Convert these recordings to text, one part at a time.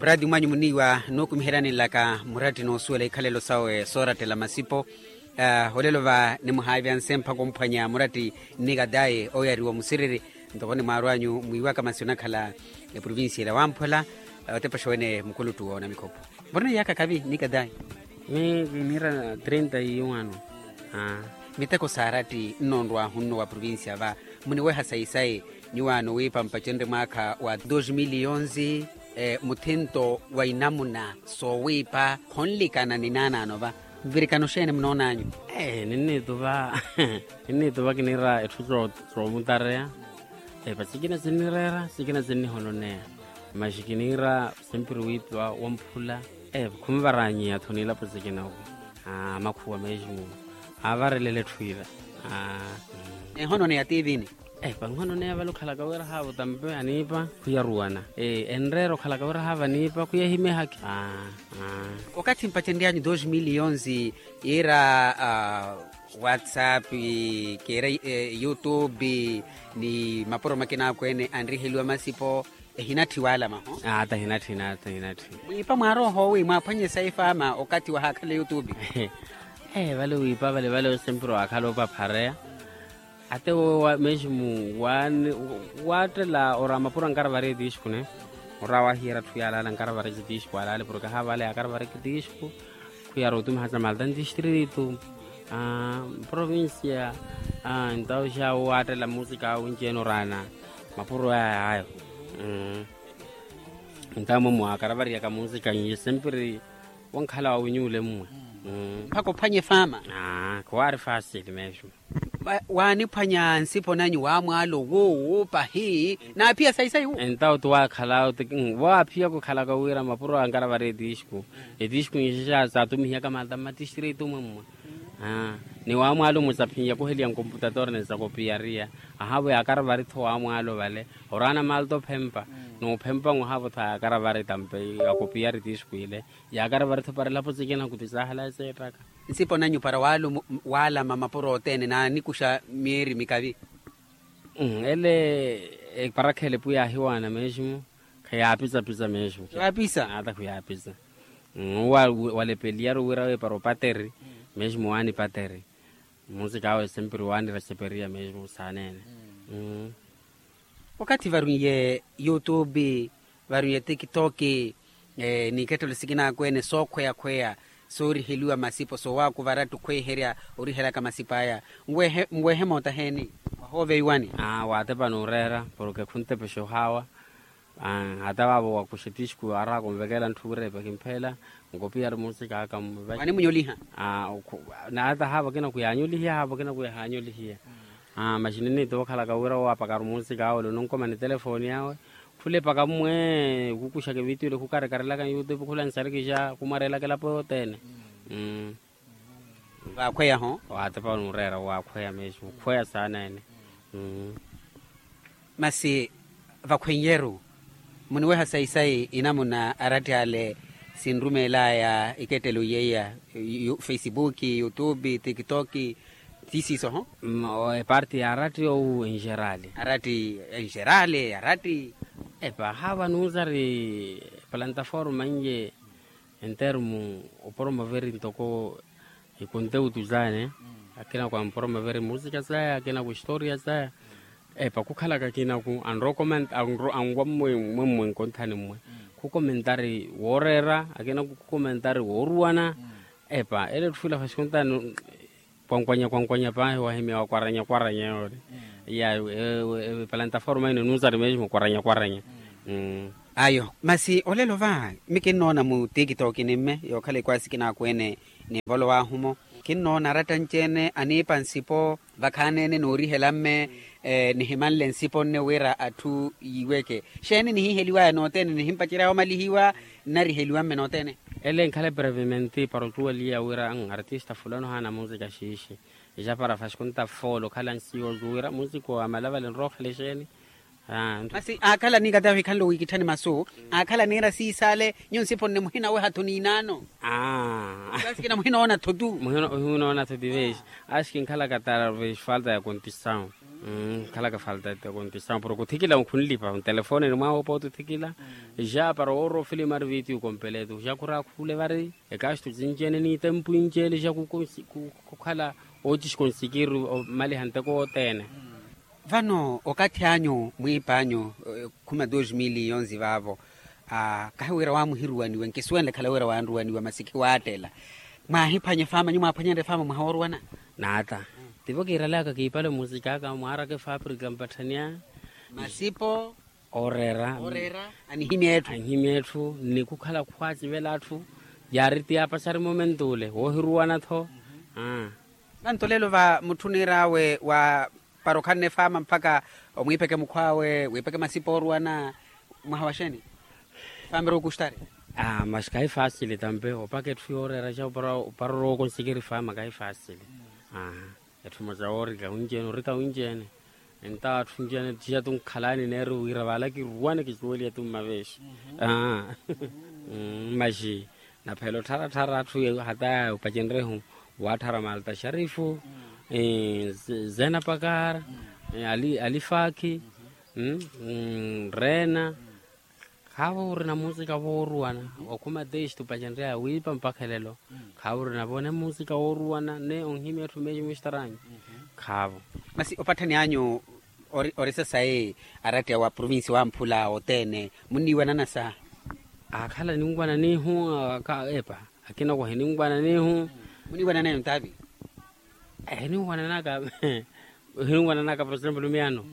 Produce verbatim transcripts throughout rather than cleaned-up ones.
Muraati mwanyu muniiwa nuukumiheryani nlaka muratti noosuwela ikhalelo sawe soorattela masipo. Olelo va nimuhaavyanse mpakha omphwanya muratti nnikatayi oyariwa musiriri. Ntoko ni mwaarwanyu mwiiwaka masi onakhala eprovincia ila wamphwela. Otepexa wene mukuluttu woona mikhopho. Murina iyaka kavi nnikatayi? Miyo kiniira trinta iwano. Miteko saaratti nnonrwahu nno wa provincia va muniweha sayi-sayi. Nyuwaano wiipa mpacenrye mwaakha wa dos mil onzi. Muthinto wa inamuna soowiipa khonlikana ni naanaano va. Nvirikano xeeni munoon'anyu? Ninniituva ninniituva kiniira etthu soomutareya. Epa sikina sinnireera sikina sinnihononeya. Masi kiniira simpiri wiipa wamphula. Epa khumvaranyiya-tho niilapo sikina-wu. Amakhuwa meximu aavarelele etthu ila. Ehononeya tiivini. Epa nhononeya vale okhalaka wira haavo tampe aniipa khuyaruwana. Enreera okhalaka wira haavo aniipa khuyahimehakhi. Okathi mpacenryanyu dos mil onzi yiira whatsapp, keera youtube ni mapuro makina akweene anriheliwa masipo. Ehinatthi waalama ho? Ata ehinatthi nata ehinatthi. Mwiipa mwaarooho wi mwaaphwanye saifa ama okathi wahaakhala youtube? Vale wiipa vale vale osempira waakhala opaphareya. Ate wowe meximu waattela ora mapuro ankaravari etiixku ne. Ora wahiyeera atthu yaalaala ankaravari etiixku alaale porke ahaavale yaakaravari etiixku. Khuyara otumiha sa malta ntistritu provincia. Entawu xa wo waattela musika awe nci-ene oraana mapuro aya ayo. Entawu mwe mwaakaravariyaka musika nyi sempiri wankhala wawinyuule mmwe. Mpakha ophwanye faama. Khuwaari fasili meximu. Waaniphwanya nsipo nanyu waamwaalo wuuwu pahi naaphiya sayi-sayi wu? Entawo ti waakhala ti woowaaphiya khukhalaka wira mapuro ankaravari etiixku. Etiixku nxexa saatumihiyaka malta mmatistritu mwammwa. Ni waamwaalo mwe saphinyakuheliya nkomputator ni sakopiyariya. Ahaavo yaakaravari-tho waamwaalo vale oraana malta ophempa. Noophempa nwahaavo-tho yaakaravari tampe yakopiyari etiixku ile. Yaakaravari-tho para elapo sikina kuti saahala eseettaka. Nsipo nanyu para waalama mapuro othene naanikuxa myeeri mikavi? Ele eparakha elepo yaahiwaana meximu. Khayaapisa-pisa meximu. Khayaapisa ata khuyaapisa. Walepeliyaru wira we para opateri. Meximu waanipateri. Musika awe sempiri waanirexeperiya meximu saaneene. Okathi varwiiye youtube, varwiiye tiktok, n'ikettelo sikina akweene sookhweya-khweya sooriheliwa masipo soowaakuvara atthu khweherya orihelaka masipo aya. Nweehe moota heeni? Wahooveiwani. Waatepa n'ureera porke khuntepexa ohaawa. Hata vaavo wakuxa etiixku araaka onvekela ntthu wira epakimpheela. Nkopiyari musika aka mmuvaxi. Wanimunyoliha. Na hata haavo akina khuyaanyolihiya haavo akina khuyahaanyolihiya. Masi ninniitova okhalaka wira owaapakaru musika awe ole ononkomani telefooni awe. Khula epaka mmwe khukuxaka evitiyo ile khukarekarelaka nyoutube khula nsarikixa khumwareelaka elapo yothene. Vaakhweya ho? Waatepa n'ureera waakhweya meximu okhweya saana ene. Masi vakhwenyeru muniweha sayi-sayi inamuna aratti ale sinrumeelaya ikettelo yeiya, facebook, youtube, tiktok, ti siiso ho? Eparti ya aratti ou enxerali? Aratti enxerali aratti. Epa haava nuusari plantaforma nje entermu opromoveri ntoko ikonteutu zaya ne. Akina ku ampromoveri musika zaya akina ku historia zaya. Epa khukhalaka akina ku anrokomenta anwa mmwe mmwe nkonthani mmwe khukomentari wooreera akina ku khukomentari wooruwana. Epa ele etthu ila fasi khuntani kwankwanya kwankwanya paahi wahimya wakwaranya kwaranya yoole. Ya ewe ewe plantaforma ino nunsari mesmo kwaranya kwaranya. Ayo masi olelo va mi kinnoona mu tiktok ni mme yookhala ikwaasi kinaakweene ninvolowahu-mo. Kinnoona aratta nci-ene aniipa nsipo vakhaani-ene noorihela mme. Nihimanle nsipo nne wira atthu yiiweke xeeni nihiheliwaya nothene nihimpaceryaya omalihiwa nnariheliwa mme nothene. Ele nkhala eprevimenti para ocuweliya wira artista fulano haana musika xiixi. Ixapara fasi khunta foolo okhala nsiyo ocuwira musika wa malavale nrookhela exeeni. Masi aakhala niikatahi wikhanle wiikitthani masu aakhala niira siisale nyu nsipo nne muhinaweha-tho niinaano. Kasikina muhinoona-tho tu. Muhinoona-tho ti vexi. Axikinkhalaka tara vexi falta ya kontisawu. Khalaka falta ete kontisamu porke othikila khunlipa ntelefoneni mwawe opoote othikila. Ja para woora ofilimu ari vitiyu kompeletu ja khuraakhule vari. Ekastu cinci-ene n'itempu inci-ene ja khukhala oocixika onsikiri omaliha nteko wothene. Vano okathi anyu mwiipa anyu khuma dos mil yonzi vaavo. Kahi wira waamuhiruwaniwe nkisuwenle khala wira waanruwaniwa masi khiwaattela. Mwaahiphwanya efaama nyuwo mwaaphwanyanre efaama mwaha wooruwana? Naata. Tivo kiiralaka kiipale musikaka mwaaraka efaaprika mpatthania masipo ooreera. Anihimya etthu ni khukhala khwaacivela atthu. Yaari ti yaapaxari momentu ole woohiruwana-tho. Nanto lelo va mutthu oniir'awe wa para okhanne efaama mpakha omwiipeke mukhw'awe wiipeke masipa ooruwana. Mwaha wa xeeni? Efaama eri okustari. Maxi kahi faasili tampe opaka etthu yooreera ja opara orowa okonsikeri efaama kahi faasili. Etthu emosa woorika winci-ene orika winci-ene. Entawo atthu nci-ene tiya tunkhalani neeri wira vaala kiruwane kisuweliye tu mmaveexi. Maxi naphela ottharatthar'atthu hata opacenrehu waatthara malta xarifu, zena pakar, alifaakhi, reena. Khaavo orina musika wooruwana okhuma teistu pacenreya wiipa mpakha elelo. Khaavo orina vone musika wooruwana ne onhimya etthu meeyi mustaranyu. Khaavo. Masi opatthani anyu ori sasayi aratti awa provinsi wamphula othene munniiwanana sa? Akhala ninwananihu. Epa akina owo hininwananihu. Muniwanana eyo ntaavi? Hininwananaka hininwananaka por exemplo miyano.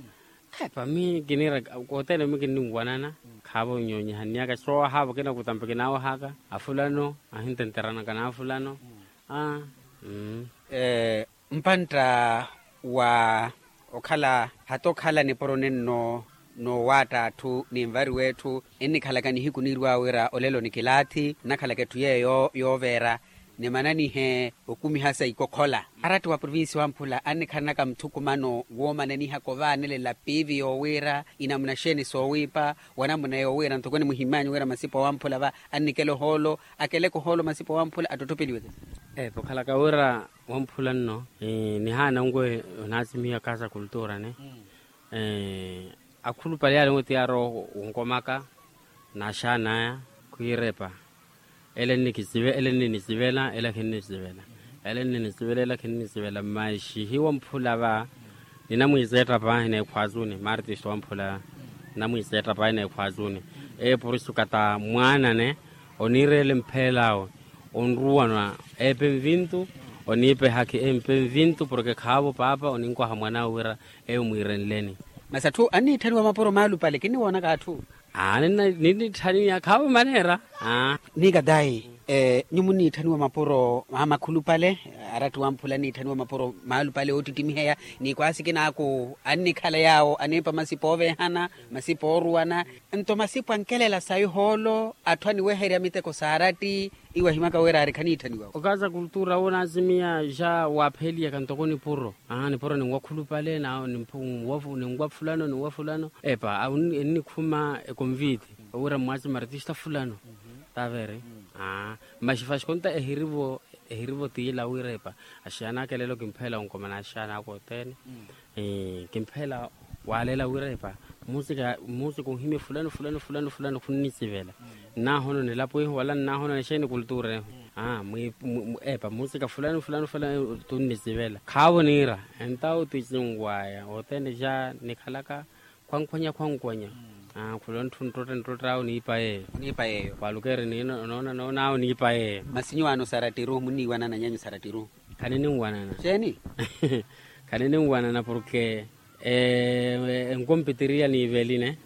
Epa mi kinira othene mi kinninwanana. Khaavo nyonyihanniyaka soowahaavo kinakutampa kinaawahaka afulano ahintenteranaka n'afulano. Mpantta wa okhala hata okhala nipuro nenno noowaatta atthu ninvariwa etthu. Ennikhalaka nihiku niirw'awe wira olelo nikilaathi nnakhalaka etthu yeeyo yooveera nimananihe okumiha sa ikokhola. Aratti wa provinsi wamphula annikhalanaka muthukumano woomananihaka ovaanelela piivi yoowiira inamuna xeeni soowiipa wanamuna yoowiira ntoko nimuhimmyanyu wira masipa wamphula va annikela ohoolo akeleke ohoolo masipa wamphula atttottopeliwe. Epo okhalaka wira wamphula nno nihaana nwe onaasimiha kaasa kultura ne akhulupale yaale nwe ti yaarowa onkomaka n'axaan'aya khwiira epa ele nninisivela ele khinnisivela ele khinnisivela maxi hiwamphula va ninamwiiseetta paahi n'ekhwaazuni martist wamphula ninamwiiseetta paahi n'ekhwaazuni. Eyo purisuka ta mwaanane oniireela empheel'awe onruwanwa epe nvintu oniipa ehakhi empe nvintu porke khaavo paapa oninkwaha mwan'awe wira eyo mwiirenleni. Masi atthu anniitthaniwa mapuro maalupale kinniwoonaka atthu. Ninniitthaniya khaavo maneera. Niikatayi nyuwo munniitthaniwa mapuro maamakhulupale aratti wamphula anniitthaniwa mapuro maalupale oottittimiheya ni kwaasi kinaaku annikhala yaawo aniipa masipa ooveehana masipa ooruwana nto masipa ankelela sayi ohoolo atthu aniweherya miteko saaratti iwo ahimaka wira ari khaniitthaniwa. Okaasa kultura wonaasimiya ja waapheeliyaka ntoko nipuro nipuro ninwakhulupale ninwafulano ninwafulano epa ennikhuma ekonviiti owira mwaasi martista fulano. Tavere maxi faxi konta ehirivo ehirivo tiila wira epa axaana aka elelo kimpheela onkomana axaana aka othene. Kimpheela waalela wira epa musika musika onhimye fulano fulano fulano fulano khunnisivela nnahono nilapo ihu wala nnahono nixeeni kultura ehu. Epa musika fulano fulano fulano tunnisivela khaavo niira entawo ti cinwaya othene ja nikhalaka khwankhwanya khwankhwanya. Khula onthu nttotta nttotta awo niipa yeeyo. Khwalukeeri ninoona noona awo niipa yeeyo. Masi nyuwaano sarattiru munniiwanana nyanyu sarattiru? Khanininwanana. Xeeni? Khanininwanana porke enkompitiriya niiveline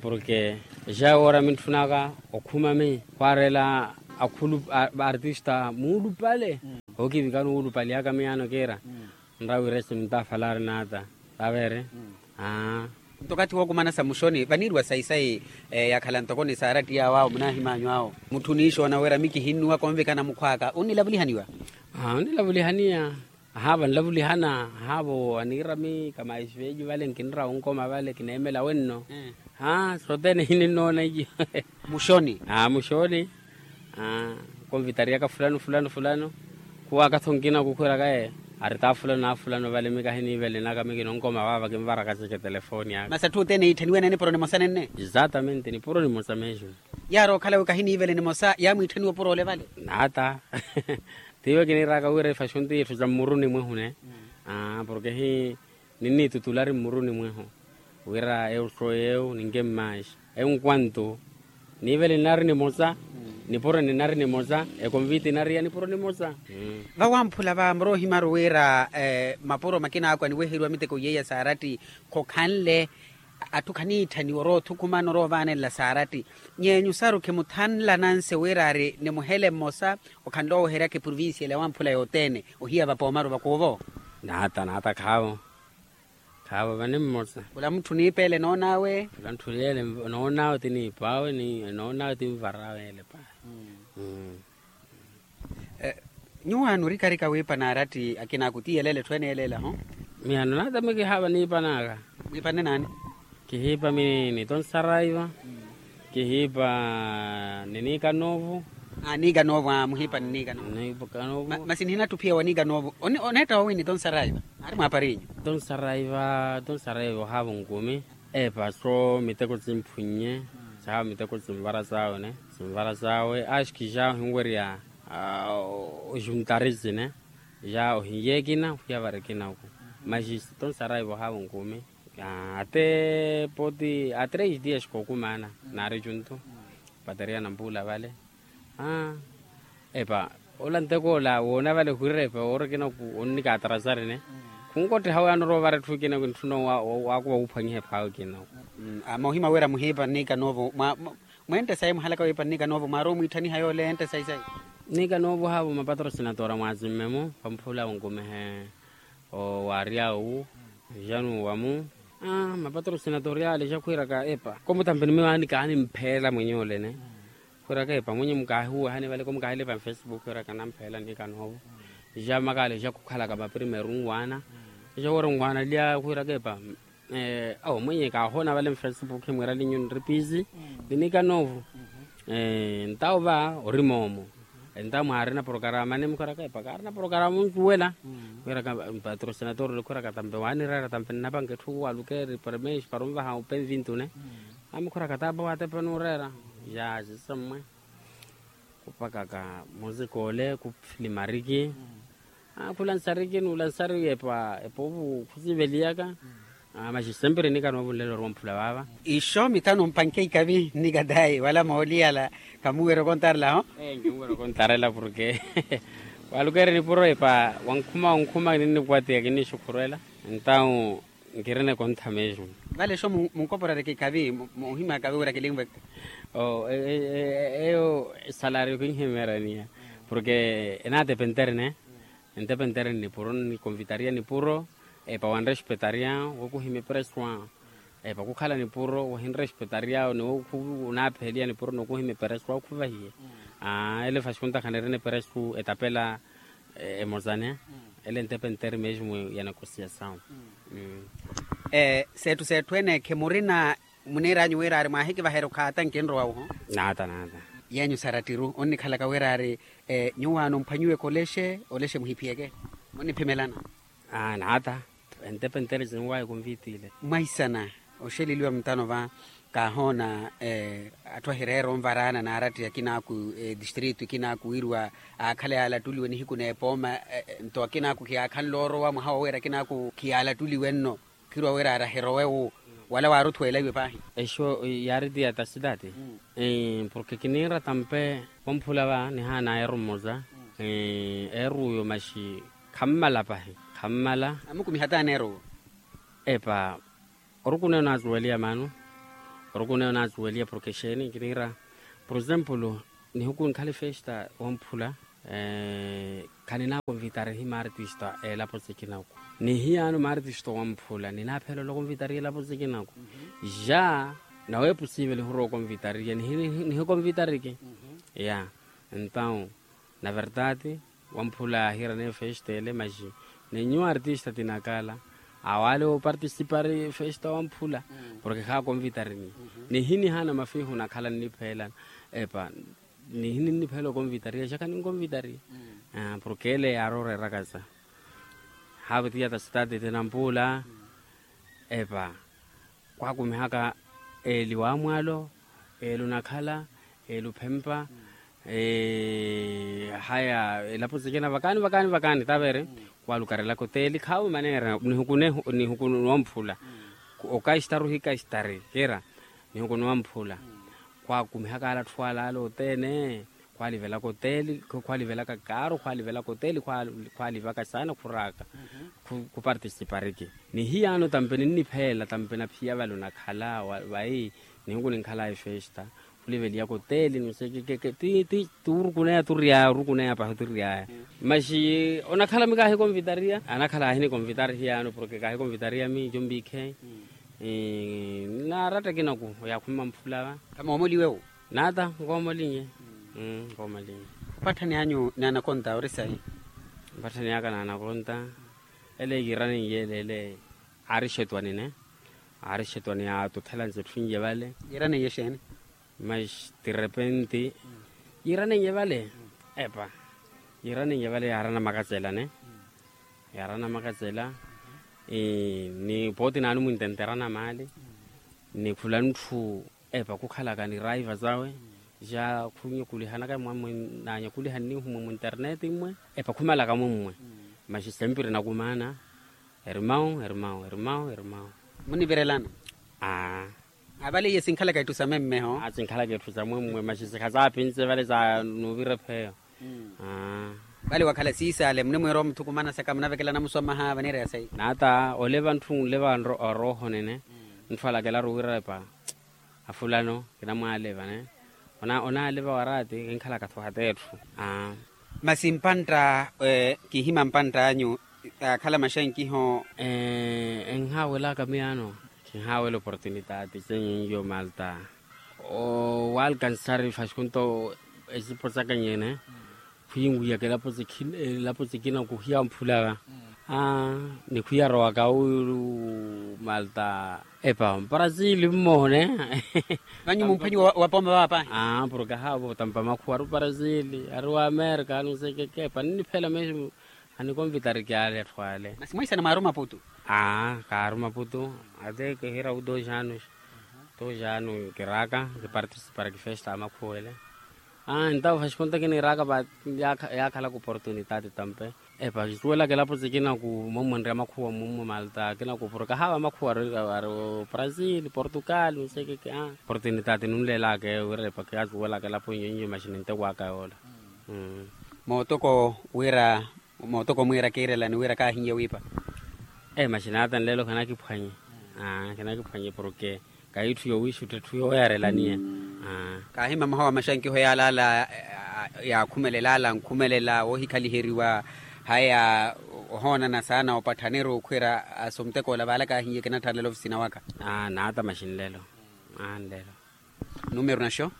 porke ja woora mintthunaka okhuma mi khwaareela akhulu artista muulupale. Ookivikana owulupalyaka miyaano kiira nrawire simtafalari naata. Tavere. Nto okathi wookumana sa muxoni vaniiriwa sayi-sayi yakhala ntoko ni saarattiya awo awo munaahim'anyu awo mutthu oniixoona wira mi kihinnuwaka onvikana mukhw'aka onnilavulihaniwa? Onnilavulihaniya. Ahaavo anlavulihana ahaavo aniira mi kamaixi veeji vale nkinira onkoma vale kineemela wenno. Sothene hininnoona iyo. Muxoni. Muxoni. Konvitariyaka fulano fulano fulano khuwaka-tho nkina kukhwiraka ye Ari taa fulano na fulano vale mi kahiniivelenaka mi kinonkoma vaava kinvaraka seke telefoni aka. Masi atthu othene iitthaniwe na nipuro nimosa nenne? Exatamente nipuro nimosa mesmo. Yaari okhalawe kahiniivele nimosa yaamwiitthaniwa opuro ole vale? Naata. Tiiwe kiniiraka wira ifaxunti itthu za mmuruni mwehu ne. Porke hi ninniitutulari mmuruni mwehu wira eu sooyi eu ninke mmaaxi. Enquanto niivele ninari nimosa, nipuro ninari nimosa, ekonviti inari ya nipuro nimosa. Vawamphula va muroohimaru wira mapuro makinaakwa niweheriwa miteko yeiya saaratti khokhanle. Atthu khaniitthaniwa oroothukumana oroovaanenla saaratti. Nyeenyu saru khimuthanlananse wira ari nimuhele mmosa okhanle oweheryaka eprovincia ele awamphula yothene ohiya vapoomaru vakuuvo? Naata naata khaavo. Khaavo vani mmosa. Khula mutthu niipa ele noon'awe? Khula mutthu yeele noon'awe ti niipa awe noon'awe ti nvara awe ele paahi. Nyuwaani orikarika wiipa naaratti akinaaku ti yeleele etthu ene yeleele aho? Miyano naata mi kihaava niipan'aka. Mwiipanne naani? Kihiipa mi ni tonsaraiva. Kihiipa ni niika noovu. Niika noovu aa muhiipa ni niika noovu. Masi nihinattupiya wa niika noovu oneetta woowi ni tonsaraiva? Aari mwaapari inyu? Tonsaraiva tonsaraiva ohaava onkumi. Epa so miteko simphwinnye. Sahaava miteko simvara sawe ne. Simvara sawe axi kixa ohinwerya oxuntari sine. Ja ohinyeekina ohiya varikina oku. Maxi tonsaraiva ohaava onkumi. Ate poti a tres dias kookumaana naari juntu. Pateria nampuula vale. Epa ola nteko ola woona vale ohirira epa woorikina oku onnikaatarasarine. Khunkotteha oyaana orowa ovara etthu ekina oku ntthuna waakuva wuuphwanyiha ephawe ekina oku. Moohima wira muhiipa nniika noovo. Mweente sayi muhalaka wiipa nniika noovo mwaari omwiitthaniha yoole eente sayi sayi. Nniika noovo haavo mapatrosinatora mwaazimme-mo vamphula wonkumihe. Owaarya owu. Januwa-mu. Mapatrosinatori ale jakhwiiraka epa komutampe ni miwaani kaanimpheela mwenye olene. Khwiiraka epa mwenye mukaahiwehani vale komukaahile epa nfacebook khwiiraka nampheela nniika noovo. Jamakale jakhukhalaka maprimeru nwaana. Jawoora nwaana lya khwiiraka epa awo mwenye kaahoona vale nfacebook emwiiralinyu nripisi. Ni nniika noovo. Ntawo va ori moomo. Entawo mwaarina porokaraama ni mukhwiiraka epa kaarina porokaraama oncuwela. Khwiiraka patrosinatori ole khwiiraka tampe waanireera tampe nnapanka etthu walukeeri parmexi para onvaha openvintu ne. Amukhwiiraka taapa waatepa nuureera. Yaaxi sammwe. Khupakaka muzika ole khufilimariki. Khulansariki nuulansari epa epovu khusiveliyaka. Maxi sempre nniika noovo nlelo orwa omphula vaava. Ixo mitano mpanke ikavi nniika tayi wala mooliyala. Khamuwira okontarela ho? Nkimuwira okontarela porke walukeeri nipuro epa wankhuma wankhuma kinnikwatiya kinnixukhurwela. Entawo nkirina ekontha mesmo. Vale exo munkoporereke ikavi muhima ikavi wira kilinvweke. Eyo esalario kinhimeeraniya porke enaatepenteri ne. Entepentere nnipuro nnikonvitaria nipuro. Epa wanrespetaria wokuhimya epereswa. Epa kukhala nipuro wahinrespetaria ni wokunaapheeliya nipuro nokuhimya epereswa okhuvahiye. Ele fasi khuntakhanirina epereswa etapela emozane. Ele entepentere mesmo ya negosiasaw. Seettu seettu ene khimurina muniiranyu wira ari mwahikivaherya okhaata nkinrowa wuho. Naata naata. Yenyu sarattiru onnikhalaka wira ari nyuwaano mphwanyiwe kolexe olexe muhiphiyeke. Munniphimelana. Naata. Entepentere sinwaya konvitile. Mwaisana oxeleliwa mutano va kaahoona atthu ahireera onvaraana naaratti akinaaku distritu ikinaaku wiriwa aakhala yaalattuliwe nihiku n'epooma. Nto akinaaku khiyaakhanle orowa mwaha woweera akinaaku khiyaalattuliwe nno. Khirwa wira ari ahirowe wu wala waaruthweela iwe paahi. Exo yaari ti ya tasitati. Porke kiniira tampe wamphula va nihaana eeru mmosa. Eeru uyo maxi khammala pahi khammala. Amukumiha taani eeru uwo. Epa orukuneyo naazuweliya maano. Orukuneyo naazuweliya porke exeeni kiniira por exemplo nihiku nkhale festa wamphula. Khaninakonvitarihi maartista elapo sikinaku. Nihiyaano maartista wamphula ninaaphelela okonvitariya elapo sikinaku. Ja naweepo siiveliha orowa okonvitariya nihikonvitariki. Ya entawo na verdade wamphula yaahiira neyo festa ele maxi. Nenyuwa artista tinakala awale opartisipari festa wamphula. Porke khaakonvitarini nihinihaana mafiihu nakhala nnipheela. Epa nihininniphela okonvitariya xaka ninkonvitariya. Porke ele yaari oreeraka sa Haapitiya ta sitaati tinampula. Epa, khwakumihaka eli wamwalo, eli onakhala, eli ophempa. Haya, elapo sikina vakani vakani vakani tavere. Khwalukarelaka oteli khaavo maneera nihukune nihukune wamphula. Okastari ohikastari kira nihukune wamphula. Khwakumihaka ala atthu ala ala othene. Khwaalivelaka oteli, khwaalivelaka kaaru khwaalivelaka oteli. Khwaalivaka saana khuraaka. Khupartisipariki nihiyaano tampe ninnipheela tampe naphiya vale onakhala vayi. Nihuku ninkhalaya efesta khuliveliyaka oteli nsekekeke ti turukuneya turiyaya orukuneya pahi oturiyaya. Maxi onakhala mi kaahikonvitariya anakhala aahinikonvitari hiyaano porke kaahikonvitariya mi jombikhe. Naarateke naku yakhumma mphula va. Khamoomoliwe wu. Naata nkoomolinye. Nkoomolinye. Opatthani anyu n'anakonta ori sayi? Opatthani aka n'anakonta ele yiiranenye ele ele. Aari xetwani ne aari xetwani yaatutthelanse etthu inye vale. Yiiranenye exeeni? Mas derrepente yiiranenye vale. Epa, yiiranenye vale yaarana makatsela ne yaarana makatsela. Ni pooti naani mwintenterana maali ni khula ntthu. Epa khukhalaka ni raiva zawe ja khunyakulihanaka mwammwe nanyakulihani nihumwe munterneti mmwe. Epa khumalaka mwammwe. Maxi sempiri nakumaana. Ermau ermau ermau ermau. Munivirelana? Aa. Avale iye sinkhalaka etthu sa memmeho. Sinkhalaka etthu sa mwemmwe maxi sikhazaapinse vale za nuvira epheyo. Vale wakhala siisaale munimwiira omuthukumana saka munavekelana muswamaha vaniira ya sayi? Naata oleva ntthu nleva oroohonene. Ntthu alakelaru wira epa afulano kinamwaaleva ne. Onaaleva waraati kinkhalaka-tho hata etthu. Masi mpantta kihima mpantta anyu akhala maxankiho. Enhaawelaka miyaano. Kinhaawela oportunitaati senyu nyo malta owalkansari fasikunto esipo saka nyene. Khwinwiyaka elapo sikina kuhiya mphulaka. Ni khwiyarowaka uyu malta epa mparasili mmoone. Vanyu mumphwanyi wa pooma vaapa? Porke ahaavo tampa makhuwa ari oparasili ari wa amerika anusekeke epa ninniphela mesmo. Anikonvitariki ale atthu ale. Masi mwaisana mwaaru maputu? Aa kaaru maputu. Ate kihira u dos anos. Dos anos kiraaka kipartisiparaki festa amakhuwele. Entawo fasikunta kiniiraaka va yaakhalaka oportunitati tampe. Epa kisuwelaka elapo sikina ku momwenrya makhuwa mumwe malta kinaku porke ahaava makhuwa ari brazil portugal nsekeke. Oportunitati nunlelaka eyo wira epa kiyasuwelaka elapo inyo inyo maxi nintekwaka yoola. Mootoko wira mootoko mwiira kiirelani wira kaahiye wiipa. Ee maxinaata nlelo khinakiphwanye. Khinakiphwanye porke kahitthu yowiixutta etthu yooyarelaniya. Kaahima mahawa maxankiho yaalaala yaakhumelela ala ankhumelela woohikhaliheriwa. Haya ohoonana saana opatthaniri okhwira asomuteko ola vaala kaahiye kinatthalela ofisina waka. Naata maxinlelo. Nlelo. Numero naxo?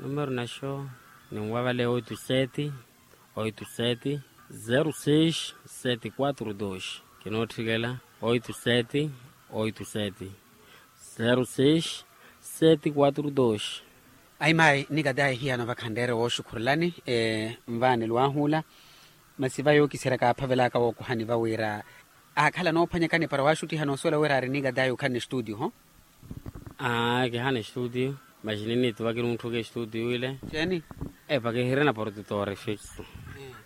Numero naxo ninwa vale oito sete oito sete zero seis sete quatro dos. Kinootthikela oito sete oito sete zero seis sete quatro dos. Ayi mayi nikatayi hiyano vakhanreere wooxukhurelani. Nvaani lwaahuula masi va yookiserya kaaphavelaka wookuhani va wira aakhala noophwanyakani para waaxuttiha noosuwela wira ari nikatayi okhanne studio ho. Aa kihana estudio. Maxi ninniituva kinuutthuka estudio ile. Epa kihirina portutori fixo.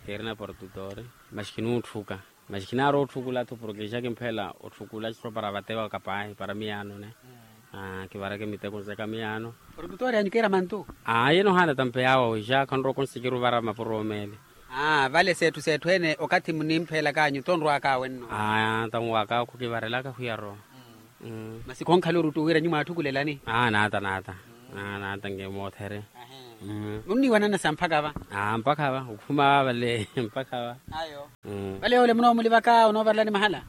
Kihirina portutori maxi kinuutthuka. Maxi kinaarowa otthukula-tho porke ixa kimphela otthukula sopara vatewa kapaahi para miyaano ne. Kivareke miteko nzeka miyaano. Portutori anyu kiira mantu. Aa yenohaana tampe yaawa wixa khanrowa konsikiri ovara mapuro omeele. Vale seetthu seetthu ene okathi munimphelaka anyu tonrwaka wenno. Aa tanwaka khukivarelaka khwiyarowa. Masi khonkhala orutu wira nyu mwaathukulelani? Aa naata naata. Naata nge moothere. Nunniiwanana sa mpakha va? Aa mpakha va okhuma vale mpakha va. Vale ole munoomulivakhaya onoovarelani mahala?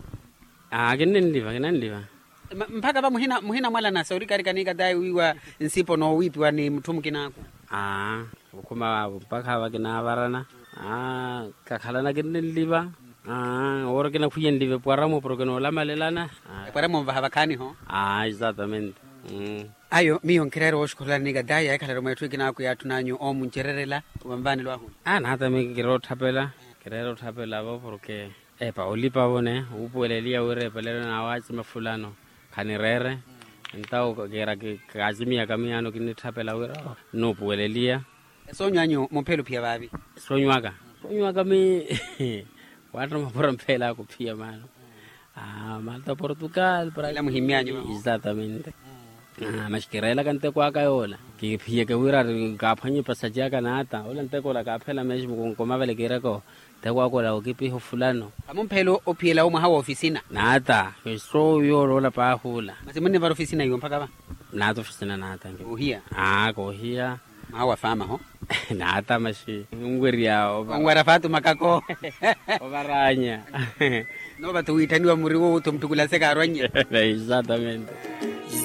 Aa kinnenliva kinnenliva. Mpakha va muhina muhina mwalana sa orikarika nikatayi wiiwa nsipo noowiipiwa ni mutthu mukinaaku. Aa okhuma vaavo mpakha va kinaavarana. Aa kakhalana kinnenliva. Aa owo ori kinakhwiyenliva epwara-mo porke noolamalelana. Epwara-mo onvaha vakhaani ho. Aa exatamente. Ayo miyo nkireera wooxukhurelani nikatayi yahikhalaru mweetthu ekinaaku yaatthun'anyu oomuncererela. Wa nvaani lwaahu? Aa naata mi kireera otthapela. Kireera otthapela vo porke Epa olipa vone wuupuweleliya wira epelelo n'awe acima fulano. Khanireere. Entawo kiira kaacimiyaka miyaano kinnitthapela wira nuupuweleliya. Soonyw'anyu mumphela ophiya vaavi? Soonyw'aka soonyw'aka mi waatta mapura mphela akuphiya maano. Malta portugal. Para muhimmyanyu exatamente. Maxi kireelaka nteko aka yoola kiphiyeke wira ari kaaphwanye epasaci aka naata ola nteko ola kaaphela mexico kunkoma vale kiireko. Nteko aka ola okipiha ofulano. Amumphela ophiyela omwaha wa ofisina. Naata. Eso yoola ola paahuula. Masi munnivara ofisina iwo mpakha va? Naata ofisina naata. Koohiya. Aa koohiya. Mwaha wa faama ho? Naata maxi nwerya onwara faatu makako. Ovaranya. Noova ti wiitthaniwa muri woowo ti omuttukulaseke arwannye. Exatamente.